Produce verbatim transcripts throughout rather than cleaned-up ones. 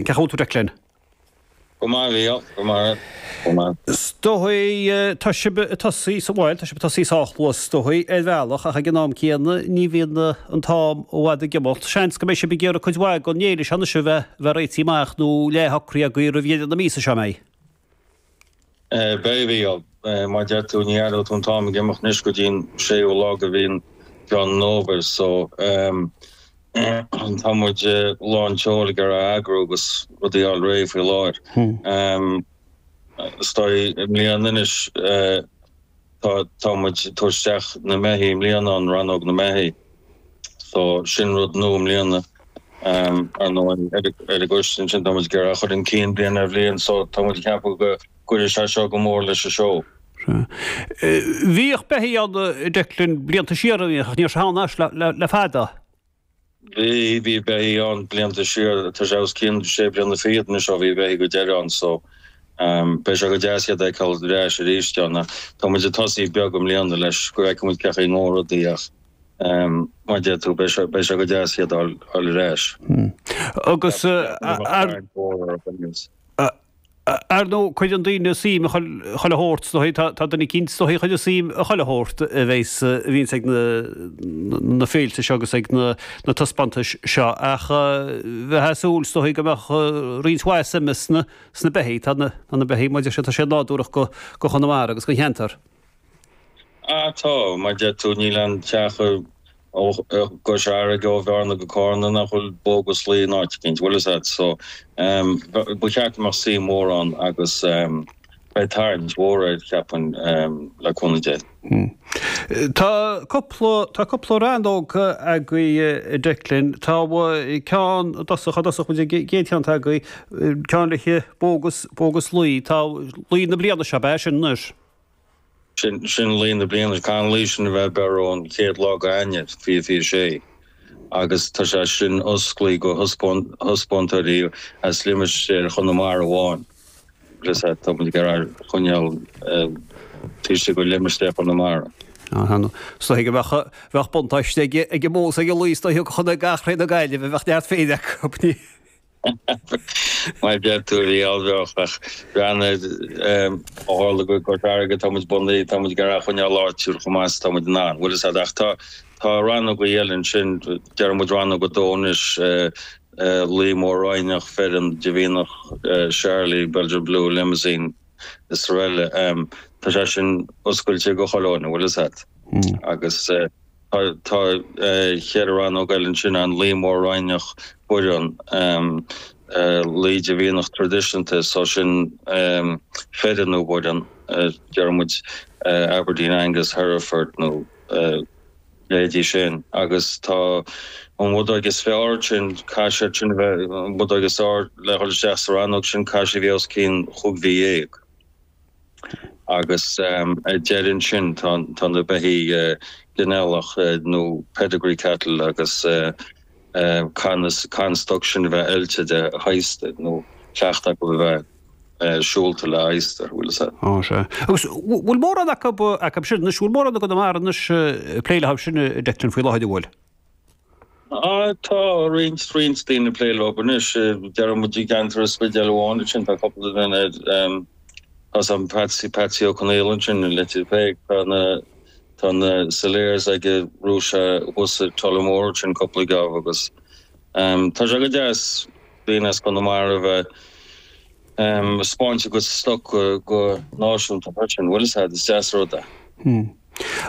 Cén chaoi a bhfuil tú, Declan? Go maith, bhí, go maith, go maith. Is dóigh, tá sibh ag tosaí sa bhaile, tá sibh ag tosaí sách luath is dóigh ar bhealach ach ag an am céanna ní bhíonn an t-am i bhfad ag imeacht. Seans go mbeidh sibh ag iarraidh cuid mhaith den fhéile seo anois a bheith bheith réitithe amach nó leathshocraithe agaibh roimh dheireadh na míosa seo, an mbeidh? Beidh, bhí. Mar a deir tú, ní aireoidh tú an t-am ag imeacht anois go dtí an séú lá de mhí an Mheán Fómhair so tá muid lán tseoil ag iarraidh eagrú agus rudaí a fháil réidh faoi láthair. Is dóigh i mbliana anois tá tá muid ag tabhairt isteach na mbeithígh i mbliana, an rannóg na mbeithígh. So sin rud nua i mbliana. Ar ndóigh ar an gcoiste ansin tá muid ag iarraidh a chur chun cinn bliain ar bhliain so tá muid ag ceapadh go gcuirfidh sé seo go mór leis an seó. Bhíodh beithígh ann, Declan, blianta siar, an bhíodh, ach níl sé ann anois le fada. Bhí, bhí beithígh ann blianta siar, tá sé os cionn sé bliana fichead anois ó bhí beithígh go deireadh ann so beidh sé go deas iad a fheiceáil ar ais arís ann. Tá muid ag tosaí beag i mbliana leis go bhfeicfidh muid cén chaoi a ngabhfaidh rudaí ach mar a deir tú beidh sé, beidh sé go deas iad a fháil ar ais. Agus ar. Ar ndóigh, cuireann daoine suim i chuile shórt, is dóigh, tá duine eicínt, is dóigh, a chuireann suim i chuile shórt a bheas, a bhíonns ag na féilte seo agus ag na taispeántais seo, ach bheifeá ag súil, is dóigh, go mbeadh roinnt mhaith suime sna beithígh. Tá na beithígh, mar a deir siad, tá siad nádúrach go Chonamara agus don cheantar. Ah tá, mar a deir tú, níl aon teach i gCois Fharraige ó Bhearna go Cárna nach bhfuil bó agus lao in áit eicínt, bhfuil fhios a'd. So ba cheart go mbeadh suim mhór ann agus beidh tarraingt mhór air, cheapfainn, le cúnamh Dé. Tá cúpla, tá cúpla rannóg agaibh, a Declan. Tá ceann i dtosach, i dtosach muid ag an gcéad cheann atá agaibh, ceann le bó agus, bó agus lao. Tá lao na bliana seo, ab ea sin anois? Sin sin lao na bliana. Caithfidh an lao sin a bheith ag beir ón chéad lá de Eanáir, fiche fiche sé, agus tá sé sin osclaithe do thaispeántóirí as limistéar Chonamara amháin. Bhfuil fhios a'd, tá muid ag iarraidh coinneáil taobh istigh de limistéar Chonamara. Is dóigh go mbeadh bheadh buntáiste ag ag an mbó is ag an lao is dóigh go chontae gach ré na Gaillimhe, bheadh neart féin acu. Mar a deir tú, bhí bheadh ach breathnaigh ó tharla go Cois Fharraige tá muid bunaithe, tá muid ag iarraidh a choinneáil áitiúil chomh maith is tá muid in ann, bhfuil fhios a'd ach tá tá rannógaí eile ansin, deir muid rannóg a dó anois, Lao Mór-Roinneach, Fireann, de Mhianach, Charolais, Belgian Blue, Limousin is araile. Tá sé sin oscailte go chuile dhuine, bhfuil fhios a'd agus. Tá ceithre rannóg eile ansin, an Lao Mór-Roinneach Baireann, Lao de Mhianach Traidisiúnta, so sin fireann nó baireann, deir muid Aberdeen Angus, Hereford nó leithéidí sin. Agus tá an bhudóg is fearr sin, caithfidh siad sin a bheith, an bhudóg is fearr le dhul isteach sa rannóg sin, caithfidh sí a bheith os cionn chúig mhí dhéag. Agus ar deireadh ansin tá tá na beithígh ginealach nó pedigree cattle agus caithfidh an stoc sin a bheith oilte de adhastar nó cleachtadh acu a bheith siúlta le adhastar, bhfuil fhios a'd. Á sea. Agus bhfuil mórán acu acu sin anois, bhfuil mórán i gConamara anois ag plé leo sin, a Declan, faoi láthair, an bhfuil? Á tá roinnt roinnt daoine ag plé leo anois, deir muid i gceantar an Spidéil amháin ansin tá cúpla duine tá sam Patsy Patsy Ó Conaola ansin i Leitir Péic, tá na tá na Salers aige Rúise thuas i Tullamore ansin cúpla geábh agus tá sé go deas daoine as Conamara a bheith ag 'spáint a gcuid stoc go náisiúnta freisin, bhfuil fhios a'd, is deas rud é.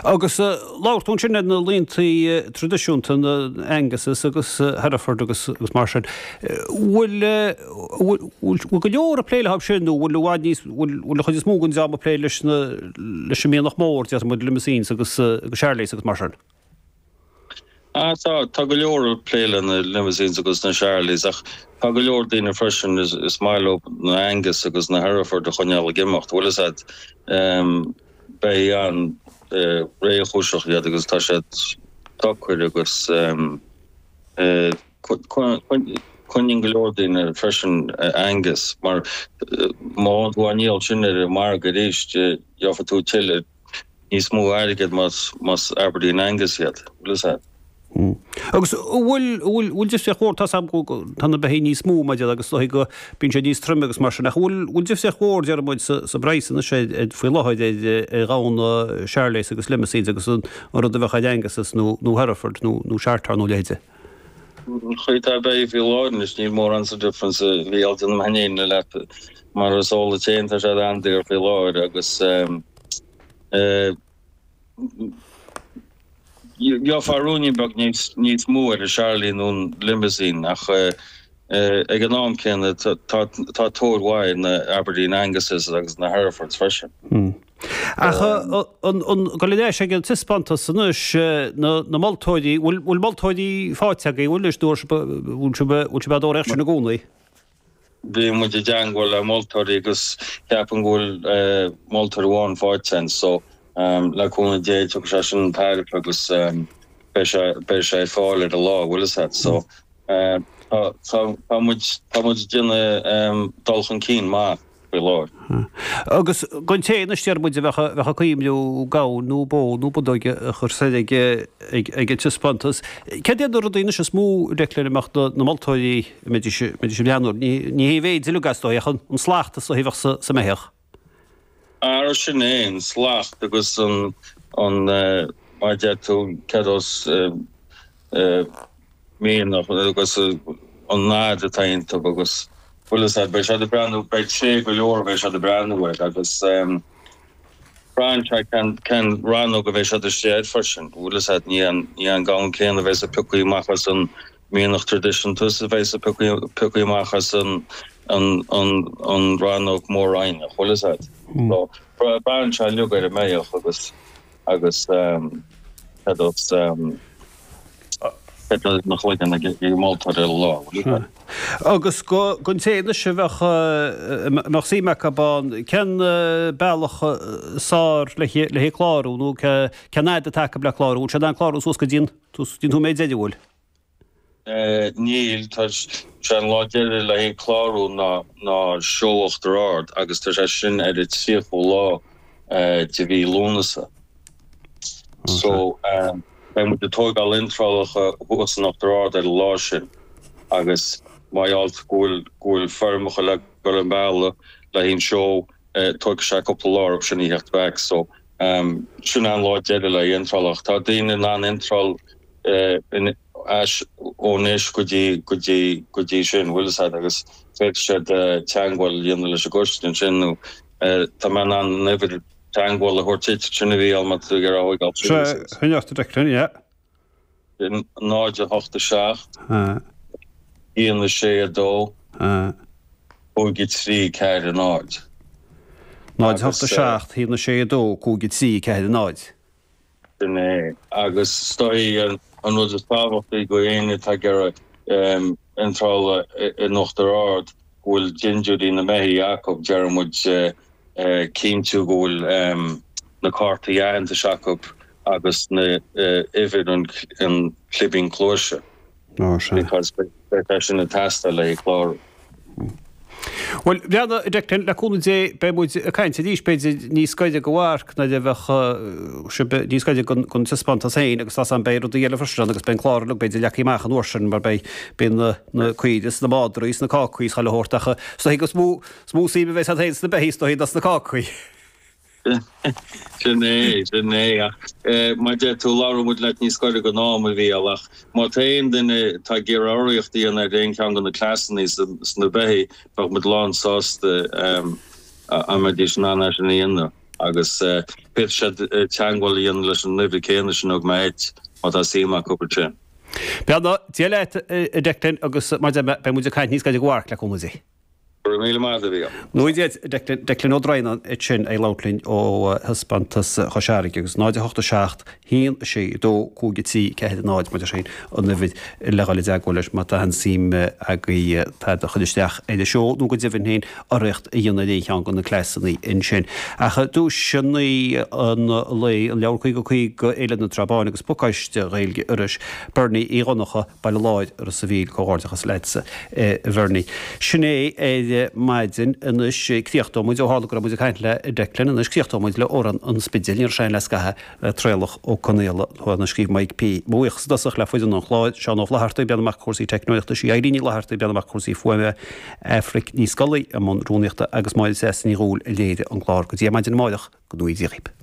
Agus labhair tú ansin ar na laontaí traidisiúnta, na Anguses agus Hereford agus mar sin. Bhfuil bhfuil go leor ag plé leo sin nó bhfuil i bhfad níos, bhfuil an chuid is mó den dream ag plé leis na leis an mianach mór, déarfaidh muid Limousins agus agus Charolais agus mar sin? Ah tá, tá go leor ag plé le na Limousins agus na Charolais ach tá go leor daoine freisin is maith leo na Angus agus na Hereford a choinneáil ag imeacht, bhfuil fhios a'd. Beithígh an-réchúiseach iad agus tá siad socair agus coinníonn go leor daoine freisin Angus mar má fhaigheann tú á ndíol sin ar an margadh arís gheobhaidh tú tuilleadh níos mó airgid más Aberdeen Angus iad, bhfuil fhios a'd. Agus bhfuil bhfuil bhfuil difríocht mhór, tá 's agam go tá na beithígh níos mó maidir agus is dóigh go bíonn siad níos troime agus mar sin ach bhfuil bhfuil difríocht mhór deir muid sa sa bpraghas anois ar faoi láthair ar ar ghamhna Charolais agus Limousins agus an rud a bheadh ar Angus nó nó Hereford nó nó Shorthorn nó leithéide. An chaoi atá beithígh faoi láthair anois níl mórán sa difference a Mhícheáil déanaim féin leat mar is eol duit féin tá siad an-daor faoi láthair agus eh Gheofá ruainnín beag níos mó ar an Charolais nó an Limousin ach ag an am céanna tá tóir mhaith ar na Aberdeen Anguses agus na Herefords freisin. Ach an gabháil ar ais ag an taispeántas anois, na moltóirí, bhfuil moltóirí faighte agaibh, bhfuil anois, nó bhfuil sibh á dtóraíocht sin i gcónaí? Bhí muid i dteangmháil le moltóirí agus ceapaim go bhfuil moltóir amháin faighte againn so le cúnamh Dé tiocfaidh sé sin chun tairbhe agus beidh sé beidh sé ar fáil ar an lá, bhfuil fhios a't. So tá tá muid tá muid ag déanamh dul chun cinn maith faoi láthair. Agus don té anois deir muid a bheadh a bheadh ag cuimhniú gamhain nó bó nó budóg a chur soir ag ag ag an taispeántas, céard iad na rudaí anois is mó Declan a mbeadh na moltóirí a mbeidís a mbeidís ag breathnú orthu? Ní ní hé an mhéid uilig is dóigh ach an slacht is dóigh a bheadh sa sa mbeithíoch. Ara sin é, an slacht agus an an mar a deir tú céard as mianach agus an fhad atá iontu agus bhfuil fhios a't, beidh siad ag breathnú, beidh tréith go leor a bheidh siad ag breathnú air agus braitheann sé cén cén rannóg a bheidh siad istigh air freisin, bhfuil fhios a't, ní an ní an gamhain céanna a bheas ag piocadh amach as an mianach traidisiúnta is a bheas ag piocadh piocadh amach as an an an an rannóg mór-roinneach, bhfuil fhios a't. So braitheann sé uilig ar an mbeithíoch agus agus cad as cad as na chloigeann ag ag moltóir ar an lá, bhfuil fhios a't. Agus don té anois a bheadh a mbeadh suim acu ann, cén bealach is fearr le le clárú nó cén fhad atá acu le clárú? Bhfuil siad in ann clárú suas go dtí an dtí an nóiméad deiridh, bhfuil? Níl, tá sé an lá deiridh le haghaidh clárú ná ná Seó Uachtar Ard agus tá sé sin ar an tríochú lá de mhí Lúnasa. So beidh muid ag tógáil iontrálacha thuas in Uachtar Ard ar an lá sin agus mar gheall go bhfuil go bhfuil foirmeacha le dul an bealach le haghaidh an seó tógfaidh sé cúpla lá orthu sin a theacht back. So sin an lá deiridh le haghaidh iontrálacha. Tá daoine in ann iontráil in ais ó anois go dtí go dtí go dtí sin, bhfuil fhios a't, agus féadfaidh siad teangmháil a dhéanamh leis an gcoiste ansin nó tá mé in ann an uimhir teangmháil a thabhairt duit, sin a Mhícheáil má tá tú ag iarraidh a thógáil síos. Sea, coinnigh ort a Declan, yeah. Sin náid a hocht a seacht, aon a sé a dó, cúig a trí ceathair a náid. Náid a hocht a seacht, aon a sé a dó, cúig a trí ceathair a náid. Sin é. Agus is dóigh an rud is tábhachtaí do éinne atá ag iarraidh iontrála in Uachtar Ard go bhfuil dintiúirí na mbeithígh acu, deireann muid cinntiú go bhfuil na cártaí aitheantais acu agus na uimhir an clibín cluaise because beidh sé sin ag teastáil le haghaidh clárú. Bhuel, bheanna, a Declan, le cúnamh Dé, beidh muid ag caint arís, b'fhéidir, níos gaire do mharc nuair a bheadh sibh níos gaire don taispeántas féin agus tá 's a'm beidh rudaí eile freisin ann agus beidh an clár uilig b'fhéidir leagtha amach an uair sin mar beidh beidh na na caoire is na madraí is na cácaí is chuile shórt ach is dóigh gur mó is mó suim a bheas a'd féin sna beithígh is dóigh ná sna cácaí. Sin é, sin é. Ach mar a deir tú, labhróidh muid leat níos gaire don am, a Mhícheáil, ach má tá aon duine atá ag iarraidh urraíocht a dhéanamh ar aon cheann de na cleasanna sna beithígh, bheadh muid lán sásta dá mbeidís in ann é sin a dhéanamh. Agus féadfaidh siad teagmháil a dhéanamh leis an uimhir céanna sin a thug mé dhuit, má tá suim acu ansin. Beannacht Dé leat, a Declan, agus mar a deir mé, beidh muid ag caint níos gaire do mharc, le cúnamh Dé. Go raibh míle maith agat, a Mhícheáil. Beannacht Dé duit, Declan, Declan Ó Droighneáin ansin ag labhairt linn ó thaispeántas Chois Fharraige agus náid a hocht a seacht, haon a sé, dó, cúig a trí, ceathair a náid, mar sin an uimhir le dhul i dteagmháil leis má tá aon suim agaibh tada a chur isteach ar an seó nó go deimhin féin urraíocht a dhéanamh ar aon cheann de na cleasanna ansin. Ach duaiseanna an lae, an leabhar caoga caoga, Fhéile na Trá Báine agus pacáiste Ghaeilge Iorrais, Bernie Uí Dhonncha, Baile Láir, Ros a' Mhíl, comhghairdeachas leatsa a Bhernie. Sin é ar ar maidin anois críochnóidh muid ó tharla go raibh muid ag caint le Declan anois críochnóidh muid le Amhrán an Spidéil ní raibh sé le scaitheamh Traolach Ó Conaola a scríobh Mike P. Mo bhuíochas i dtosach le foireann an chláir, Seán Ó Flatharta ag breathnú amach cúrsaí teicneolaíochta, sí Eileen Ní Fhlatharta ag breathnú amach cúrsaí fuaime, Aifric Ní Scolaí i mbun rúnaíochta agus Máire Treasa Ní Dhúill a léirigh an clár. Go dtí ar maidin amárach, go ngnóthaí Dia dhaoibh.